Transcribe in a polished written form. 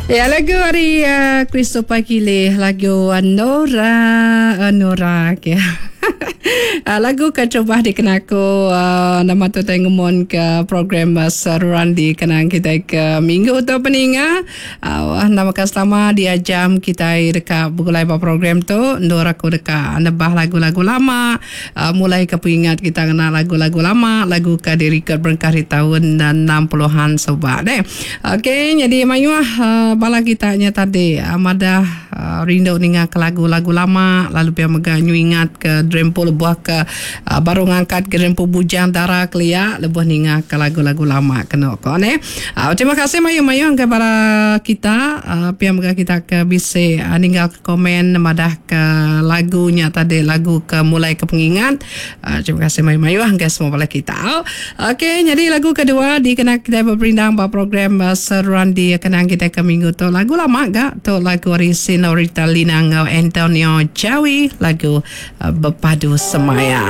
Ya lagu ari uh, Christopher Kili lagu Nora Nora okay. Uh, lagu ke terubah dikena aku uh, nama tu tai ngemon ke program uh, seruran dikenang kita ke minggu tu peninga. Uh, nama ke selama dia jam kita deka begulai ba program tu endur aku deka nebah lagu-lagu lama uh, mulai ke pengingat kita ngena lagu-lagu lama lagu ke direkod berengkah di tahun 60-an suba deh. Okey nyadi mayuh uh, bala kita nya tadi uh, madah uh, rindu ninga ke lagu-lagu lama lalu pia mega nyu ingat ke Drempu lebuh ke uh, baru ngangkat ke Drempu Bujang Dara kelia lebuh ninga ke lagu-lagu lama kenu ko neh. Uh, terima kasih mayuh-mayuh ke bala kita uh, pia mega kita ke bisi uh, ninggal ke komen madah ke lagu nya tadi lagu ke mulai ke pengingat. Uh, terima kasih mayuh-mayuh ke semua bala kita. Okey, nyadi lagu kedua dikena kitai beperindang ba program uh, seruan di kenang kitai ke minggu tu. Lagu lama ga tu lagu ari Senorita Lina enggau Antonio Jawi lagu uh, Bepadu Semaya.